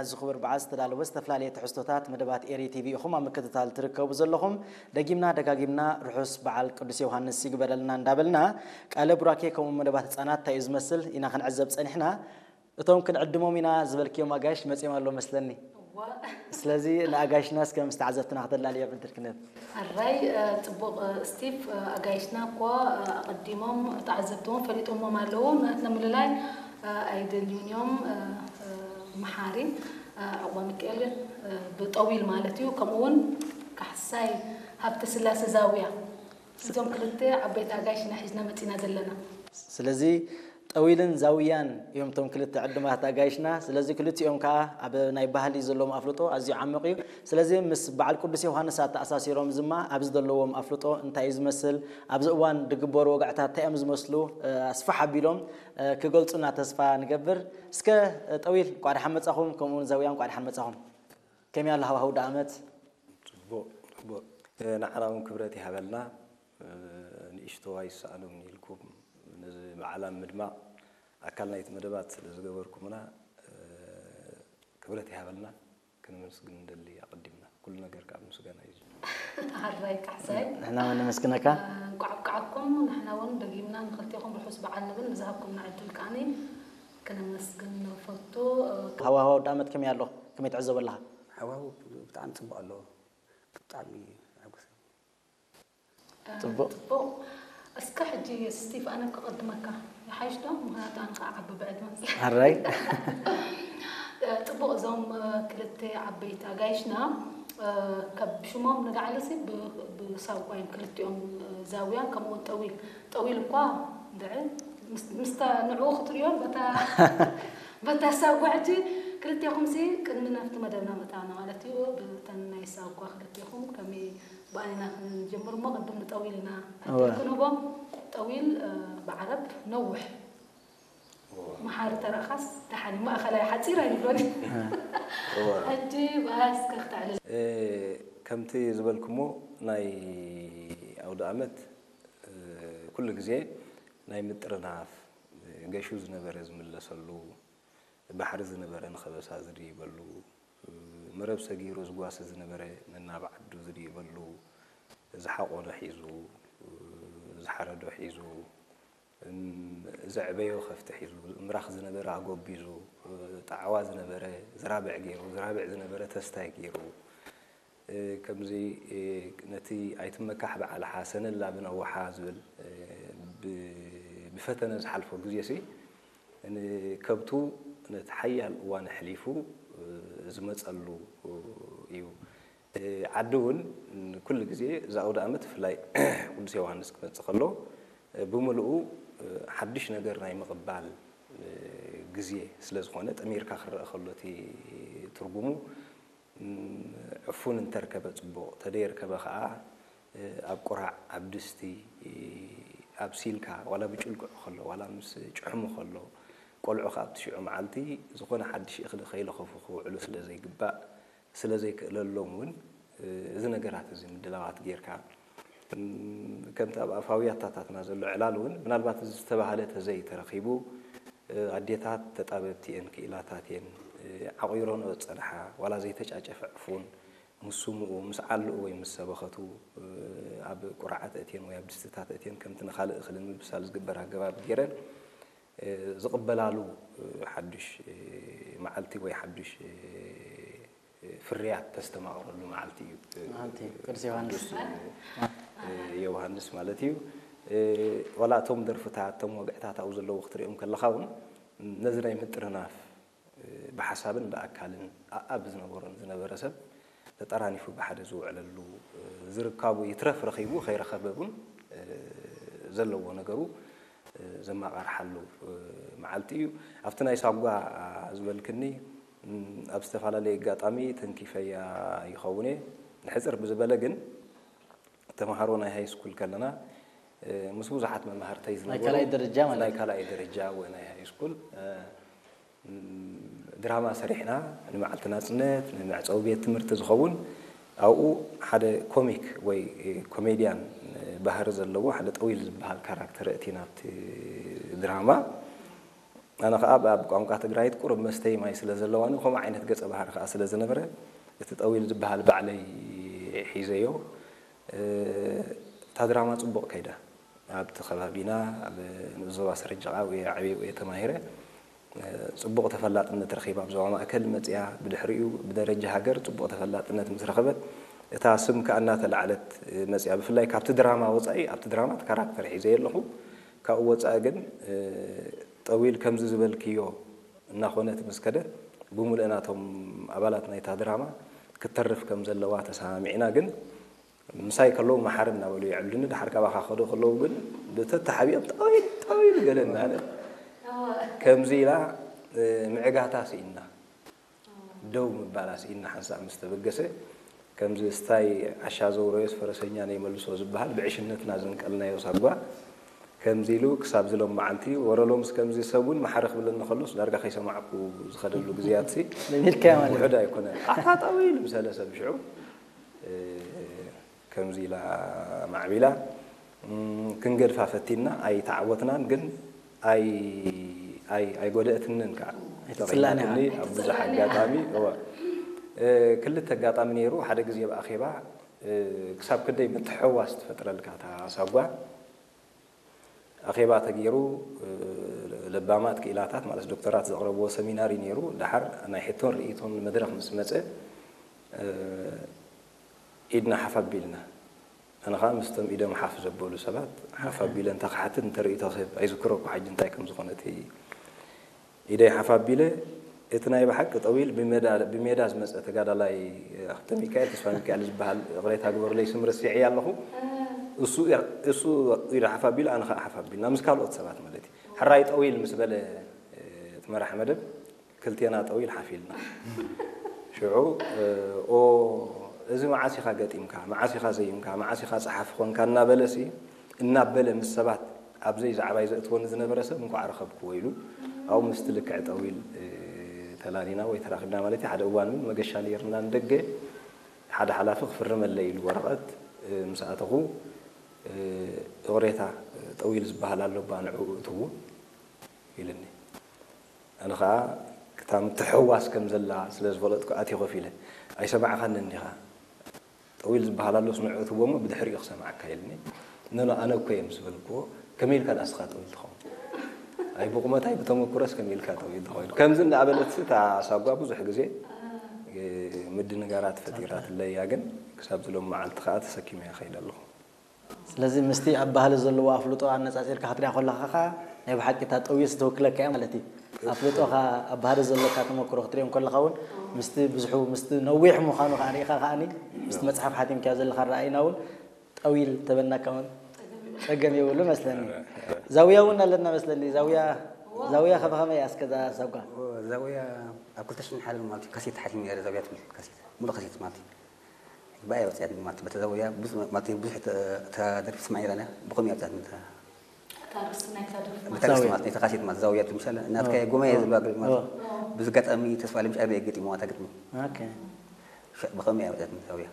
እዚ ክቡር በዓል ዝተዳለወ ዝተፈላለየ ትሕዝቶታት መደባት ኤሪ ቲቪ ኢኹም ኣብ ምክትታል ትርከቡ ዘለኹም። ደጊምና ደጋጊምና ርሑስ በዓል ቅዱስ ዮሃንስ ይግበረልና እንዳበልና፣ ቃለ ቡራኬ ከምኡ መደባት ህፃናት እንታይ እዩ ዝመስል ኢና ክንዕዘብ ፀኒሕና። እቶም ክንዕድሞም ኢና ዝበልክዮም ኣጋይሽ መፂኦም ኣለዉ መስለኒ። ስለዚ ንኣጋይሽና እስከ ምስ ተዓዘብትና ክተላልዮ ዕድል ክነብ። ኣራይ፣ እ፣ ጽቡቕ፣ እ፣ ስቲቭ፣ እ፣ ኣጋይሽና እኮ፣ እ፣ ኣቐዲሞም ተዓዘብትዎም ፈሊጦሞም ኣለዉ። ናትና ምልላይ፣ እ፣ ኣይደልዩን እዮም። እ፣ እ፣ መሓሪ፣ እ፣ ዕቑባ ሚካኤል፣ እ፣ ብጠዊል ማለት እዩ። ከምኡ እውን ካሕሳይ ሃብተ ስላሴ ዛውያ። እዞም ክልተ ዓበይቲ ኣጋይሽና ሒዝና መጺና ዘለና። ስለዚ ጠዊልን ዛውያን እዮም እቶም ክልተ ዕዱማት ኣጋይሽና። ስለዚ ክልቲኦም ከኣ ኣብ ናይ ባህሊ ዘለዎም ኣፍልጦ ኣዝዩ ዓሚቕ እዩ። ስለዚ ምስ በዓል ቅዱስ ዮሃንስ ኣተኣሳሲሮም ድማ ኣብዚ ዘለዎም ኣፍልጦ እንታይ እዩ ዝመስል፣ ኣብዚ እዋን ዝግበሩ ወግዕታት እንታይ እዮም ዝመስሉ፣ እ፣ ኣስፍሕ ኣቢሎም፣ እ፣ ክገልጹና ተስፋ ንገብር። እስከ፣ እ፣ ጠዊል እንቋዕ ደሓን መጻኹም፣ ከምኡውን ዛውያ እንቋዕ ደሓን መጻኹም። ከመይ ኣሎ ሃዋህው ዳኣመት? ጽቡቕ፣ ጽቡቕ። እ፣ ንዓና እውን ክብረት ይሃበልና። እ፣ ንእሽቶ ኣይሰኣኖምን ኢልኩም ነዚ በዓል ኣብ ምድማቕ ኣካል ናይቲ መደባት ስለ ዝገበርኩምና፣ እ፣ ክብረት ይሃበልና። ክነመስግን ንደሊ ኣቐዲምና። ኩሉ ነገር ካብ ምስጋና እዩ ዝጅምር። ኣራይ ካሕሳይ። ንሕና እውን ነመስግነካ። እ፣ እንቋዕ ኣብቅዓኩም። ንሕና እውን ደጊምና ንኽልቴኹም ርሑስ በዓል ንብል። ንዝሃብኩምና ዕድል ከኣኒ ክነመስግን ንፈቱ። እ፣ ሃዋህው ዳኣመት ከመይ ኣሎ? ከመይ ትዕዘቦ ኣለኻ? ሃዋህው ብጣዕሚ ጽቡቕ ኣሎ። ብጣዕሚ ኣጉስ። ጽቡቕ። ጽቡቕ። እስከ ሕጂ ስቲቭ፣ ኣነ ክቕድመካ። ይሓይሽ ዶ? ምኽንያቱ ኣነ ኸዓ ዓቢ ብዕድመ። ኣራይ። ጽቡቕ፣ እዞም፣ እ፣ ክልተ ዓበይቲ ኣጋይሽና፣ እ፣ ካብ ሽሞም ንላዕሊ ሲ ብ-፣ ብሳጓ እዮም ክልቲኦም፣ እ፣ ዛውያን ከምኡ እውን ጠዊል። ጠዊል እኳ እንድዒ ምስ-፣ ምስታ ንዕኡ ክትርእዮን በታ፣ በታ ሳጓ ሕጂ ክልቴኹም ሲ ቅድሚ ናብቲ መደብና ምእታውና ማለት እዩ። ብተን ናይ ሳጓ ክልቴኹም ከመይ ብኣይና ክንጀምር እሞ ቅድም ንጠዊል ኢና እወ። ዕድል ክንህቦ። ጠዊል፣ እ፣ ብዓረብ ነውሕ። እወ። መሓሪ ተረእኻስ ደሓን እዩ። ማእኸላይ ሓፂር ኣይንብሎን። እወ። ሕጂ ብኣስከ ክተዕልል። እ፣ ከምቲ ዝበልኩሞ ናይ ኣውደ ኣመት፣ እ፣ ኩሉ ግዜ ናይ ምጥርናፍ፣ እ፣ ገሹ ዝነበረ ዝምለሰሉ፣ ባሕሪ ዝነበረ ንኸበሳ ዝድይበሉ፣ መረብ ሰጊሩ ዝጓሲ ዝነበረ ነናብ ዓዱ ዝድይበሉ፣ ዝሓቖኖ ሒዙ፣ ዝሓረዶ ሒዙ፣ እም፣ ዘዕበዮ ከፍቲ ሒዙ፣ ምራኽ ዝነበረ ኣጎቢዙ፣ ጣዕዋ ዝነበረ ዝራብዕ ገይሩ፣ ዝራብዕ ዝነበረ ተስታይ ገይሩ፣ እ፣ ከምዚ፣ እ፣ ነቲ ኣይትመካሕ ብዓልሓ ሰነላ ብነዋሓ ዝብል፣ እ፣ ብ-፣ ብፈተነ ዝሓልፎ ግዜሲ፣ ንከብቱ ነቲ ሓያል እዋን ኣሕሊፉ፣ እ፣ ዝመጸሉ እዩ። እ፣ ዓዲ እውን ኩሉ ግዜ እዚ ኣውደ ኣመት ብፍላይ ቅዱስ ዮሃንስ ክመጽእ ከሎ፣ እ፣ ብምልኡ፣ እ፣ ሓድሽ ነገር ናይ ምቕባል፣ እ፣ ግዜ ስለ ዝኾነ፣ ጠሚርካ ክረአ ከሎ እቲ ትርጉሙ፣ እም፣ ዕፉን እንተርከበ ጽቡቕ፣ ተደየርከበ ኸኣ፣ እ፣ ኣብ ቁራዕ፣ ኣብ ድስቲ፣ እ፣ ኣብሲልካ፣ ዋላ ብጭልግዑ ከሎ፣ ዋላ ምስ ጭሕሙ ከሎ፣ ቆልዑ ኸኣ ኣብቲ ሽዑ መዓልቲ ዝኾነ ሓድሽ እኽሊ ከይለኸፉ ክውዕሉ ስለ ዘይግባእ፣ ስለ ዘይክእለሎም እውን፣ እ፣ እዚ ነገራት እዚ ምድላዋት ጌርካ፣ እም፣ ከምቲ ኣብ ኣፋውያታታትና ዘሎ ዕላል እውን ምናልባት እዚ ዝተባህለ ተዘይተረኺቡ፣ እ፣ ኣዴታት ተጣበብቲ እየን፣ ክኢላታት እየን፣ እ፣ ዓቑይረንኦ ዝጸንሓ ዋላ ዘይተጫጨፈ ዕፉን ምስ ስምኡ፣ ምስ ዓልኡ ወይ ምስ ሰበኸቱ፣ እ፣ ኣብ ቁራዓት እትየን ወይ ኣብ ድስትታት እትየን ከምቲ ንኻልእ እኽሊ ንምብሳል ዝግበር ኣገባብ ገይረን፣ እ፣ ዝቕበላሉ፣ እ፣ ሓዱሽ፣ እ፣ መዓልቲ ወይ ሓዱሽ፣ እ፣ ፍርያት ተስተማቕረሉ መዓልቲ እዩ። መዓልቲ ቅዱስ ዮሃንስ። ቅዱስ፣ እ፣ ዮሃንስ ማለት እዩ። እ፣ ዋላ እቶም ደርፍታት፣ እቶም ወግዕታት ኣብኡ ዘለዉ ክትሪኦም ከለኻ እውን ነዚ ናይ ምጥርናፍ፣ እ፣ ብሓሳብን ብኣካልን ኣኣብ ዝነበሮን ዝነበረ ሰብ ተጠራኒፉ ብሓደ ዝውዕለሉ፣ እ፣ ዝርካቡ ይትረፍ ረኺቡ ከይረኸበ እውን፣ እ፣ ዘለዎ ነገሩ፣ እ፣ ዘማቓርሓሉ፣ እ፣ መዓልቲ እዩ። ኣብቲ ናይ ሳጓ ዝበልክኒ፣ እም፣ ኣብ ዝተፈላለየ ኣጋጣሚ ተንኪፈያ ይኸውን እየ። ንሕጽር ብዝበለ ግን፣ ተምሃሮ ናይ ሃይ ስኩል ከለና፣ እ፣ ምስ ብዙሓት መማህርተይ ናይ ዝነበሩ፣ ካልኣይ ደረጃ ማለት ናይ ካልኣይ ደረጃ ወይ ናይ ሃይ ስኩል፣ እ፣ እም፣ ድራማ ሰሪሕና፣ ንመዓልቲ ናጽነት፣ ንመዕጸዊ ቤት ትምህርቲ ዝኸውን፣ ኣብኡ ሓደ ኮሚክ ወይ፣ እ፣ ኮሜድያን፣ እ፣ ባህሪ ዘለዎ ሓደ ጠዊል ዝበሃል ካራክተር ኣእቲና ኣብቲ ድራማ። ኣነ ኸዓ ኣብ ቋንቋ ትግራይት ቁሩብ መስተይ ማይ ስለ ዘለዋኒ፣ ከምኡ ዓይነት ገጸ ባህሪ ኸዓ ስለ ዝነበረ፣ እቲ ጠዊል ዝበሃል ባዕለይ ሒዘዮ። እታ ድራማ ጽቡቕ ከይዳ። ኣብቲ ከባቢና፣ ኣብ ንኡስ ዞባ ሰረጀቓ እየ ዓብየ እየ ተማሂረ። ጽቡቕ ተፈላጥነት ረኺባ ኣብ ዞባ ማእከል መጽያ፣ ብድሕሪኡ ብደረጃ ሃገር ጽቡቕ ተፈላጥነት ምስ ረኸበት፣ እታ ስም ከኣ እናተላዕለት መጽያ። ብፍላይ ካብቲ ድራማ ወጻኢ፣ ኣብቲ ድራማ እቲ ካራክተር ሒዘ ኣለኹ። ካብኡ ወጻኢ ግን፣ ጠዊል ከምዚ ዝበልክዮ እናኾነት ምስ ከደት፣ ብምሉእ ናቶም ኣባላት ናይታ ድራማ ክትተርፍ ከም ዘለዋ ተሰማሚዕና። ግን ምሳይ ከለዉ መሓሪ እናበሉ የዕልሉኒ፣ ድሓር ካባኻ ክኸዱ ከለዉ ግን ብተተሓቢኦም ጠዊል፣ ጠዊል ገለ እናበለ ከምዚ ኢላ፣ እ፣ ምዕጋታ ስኢንና፣ ደው ምባላ ስኢንና ሓንሳእ ምስ ተበገሰ፣ ከምዚ ስታይ ዓሻ ዘውረዮስ ፈረሰኛ ነይመልሶ ዝበሃል ብዕሽነትና ዘንቀልናዮ ሳጓ፣ ከምዚ ኢሉ ክሳብ ዝሎም መዓልቲ፣ ወረ ሎምስ ከምዚ ሰብ እውን መሓሪ ክብለኒ ከሎስ ዳርጋ ከይሰማዕኩ ዝኸደሉ ግዜያትሲ ለሚድካዮ ማለት እዩ። ውሑድ ኣይኮነን። ኣታ ጠዊል ምሰለ ሰብ ሽዑ፣ እ፣ ከምዚ ኢላ ማዕቢላ፣ እም፣ ክንገድፋ ፈቲና፣ ኣይተዓወትናን፣ ግን ኣይ-፣ ኣይ-፣ ኣይጎደእትንን ከዓ። ኣይተፅላእን ኢኻ። ተቐይማትኒ ኣብ ብዙሕ ኣጋጣሚ፣ እወ። እ፣ ክልተ ኣጋጣሚ ነይሩ። ሓደ ግዜ ኣብ ኣኼባ፣ እ፣ ክሳብ ክንደይ ምትሕውዋስ ትፈጥረልካ እታ ሳጓ። ኣኼባ ተገይሩ፣ እ፣ ለባማት ክኢላታት ማለት ዶክተራት ዘቕረብዎ ሰሚናር እዩ ነይሩ። ደሓር ናይ ሕቶን ርእይቶን መድረኽ ምስ መጸ፣ እ፣ ኢድና ሓፍ ኣቢልና። ኣነ ኸኣ ምስቶም ኢዶም ሓፍ ዘበሉ ሰባት ሓፍ ኣቢለ እንተ ክሓትት፣ እንተ ርእይቶ ክህብ፣ ኣይዝክሮ እኮ ሕጂ እንታይ ከም ዝኾነ እቲ ኢደይ ሓፍ ኣቢለ፣ እቲ ናይ ብሓቂ ጠዊል ብሜዳ፣ ብሜዳ ዝመጸ ተጋዳላይ፣ ኣኽተ ሚካኤል፣ ተስፋ ሚካኤል ዝበሃል፣ ይቕሬታ ግበሩለይ፣ ስም ረሲዐያ ኣለኹ። እሱ፣ እሱ ኢዱ ሓፍ ኣቢሉ፣ ኣነ ኸኣ ሓፍ ኣቢልና፣ ምስ ካልኦት ሰባት ማለት እዩ። ሕራይ ጠዊል ምስ በለ፣ እቲ መራሕ መደብ፣ ክልቴና ጠዊል ሓፍ ኢልና። ሽዑ፣ ኦ፣ እዚ መዓስ ኢኻ ገጢምካ፣ መዓስ ኢኻ ዘይምካ፣ መዓስ ኢኻ ጸሓፊ ኾንካ እናበለሲ፣ እናበለ ምስ ሰባት ኣብ ዘይዛዕባይ ዘእትወኒ ዝነበረ ሰብ እንኳዕ ረኸብክዎ ኢሉ፣ ኣብኡ ምስቲ ልክዕ ጠዊል፣ እ፣ ተላሊና ወይ ተራኺብና ማለት እዩ። ሓደ እዋን እውን መገሻ ነይርና ንደገ፣ ሓደ ሓላፊ ክፍርመለይ ኢሉ ወረቐት፣ እ፣ ምስ ኣተኹ፣ እ፣ ይቕሬታ፣ ጠዊል ዝበሃል ኣሎ እባ ንዕኡ እትዎ ኢሉኒ። ኣነ ኸኣ ክታ ምትሕውዋስ ከም ዘላ ስለ ዝፈለጥኩ ኣትየ ኮፍ ኢለ። "ኣይሰማዕኻንን ዲኻ? ጠዊል ዝበሃል ኣሎስ ንዕኡ እትዎ እሞ ብድሕሪኡ ክሰምዓካ" ኢሉኒ። "ኖኖ፣ ኣነ እኮ እየ" ምስ በልክዎ፣ "ከመይ ኢልካ ደኣ እስኻ ጠዊል ትኸውን? ኣይ ብቑመት ኣይ ብተመኩሮስ ከመይ ኢልካ ጠዊል ትኸውን?" ከምዚ እንዳበለትሲ እታ ሳጓ ብዙሕ ግዜ፣ እ፣ ምድንጋራት ፈጢራትለይ እያ፣ ግን ክሳብ ዝሎም መዓልቲ ኸኣ ተሰኪመያ ከይደ ኣለኹ። ስለዚ ምስቲ ኣብ ባህሊ ዘለዎ ኣፍልጦ ኣነጻጺርካ ክትሪኣ ከለኻ ኸኣ ናይ ብሓቂ እታ ጠዊልሲ ትውክለካ እያ ማለት እዩ። ኣፍልጦኻ ኣብ ባህሊ ዘለካ ተመክሮ ክትሪኦ እንከለኻ እውን ምስቲ ብዙሑ፣ ምስቲ ነዊሕ ምዃኑ ኸኣ ርኢኻ ኸኣኒ ምስቲ መጽሓፍ ሓቲምካዮ ዘለኻ ኣረኣእይና እውን ጠዊል ተበናካ እውን ጸገም የብሉ መስለኒ። ዛውያ እውን ኣለና መስለኒ። ዛውያ፣ ዛውያ ከ ብኸመይ እያ እስከ እዛ ሳጓ? ዛውያ ኣብ ክልተ ሽሕን ሓደን ማለት እዩ ካሴት ሓቲመ ነይረ፣ ዛውያ ትብል ካሴት፣ ሙሉእ ካሴት ማለት እዩ። ብኣይ ወፅያት ማለት በተዛውያ ብዙሕ ማለት ብዙሕ ተ-፣ ተደርፊ ስማዕ ይረና ብኸም ያብዛት ምታ እታ ርእሲ ናይታ ደርፊ ማለት ብታ ርእሲ ዛውያ። ማለት ናይታ ካሴት ማለት ዛውያ ትምሻለ እናትካ ኦ። ጎማ እየ ኦ። ዝብላ ግጥሚ ማለት ኦ። ብዙ ኣጋጣሚ ተስፋ ለምሽ ኣይበ ገጢሞ ኣታ ግጥሚ ኦኬ። ብኸም ያብዛት ዛውያ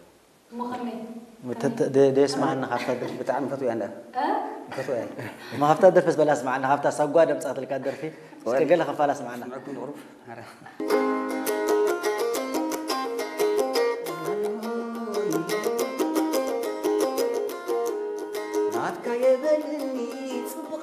እሞ ከመይ? ተ-፣ ተ-፣ ደ-፣ ደየስማዓና ካብታ ደርፊ። ብጣዕሚ ፈትውያ እንዳ እ? ፈትውያ እሞ ካብታ ደርፊ ዝበላ ስማዓና፣ ካብታ ሳጓ ደምፃትልካ ደርፊ እስከ ወይ። ገለ ክፋላ ስማዓና። ስምዐኩም ንቕሩብ። ኣረ። ናትካ የበልኒ ጽቡቕ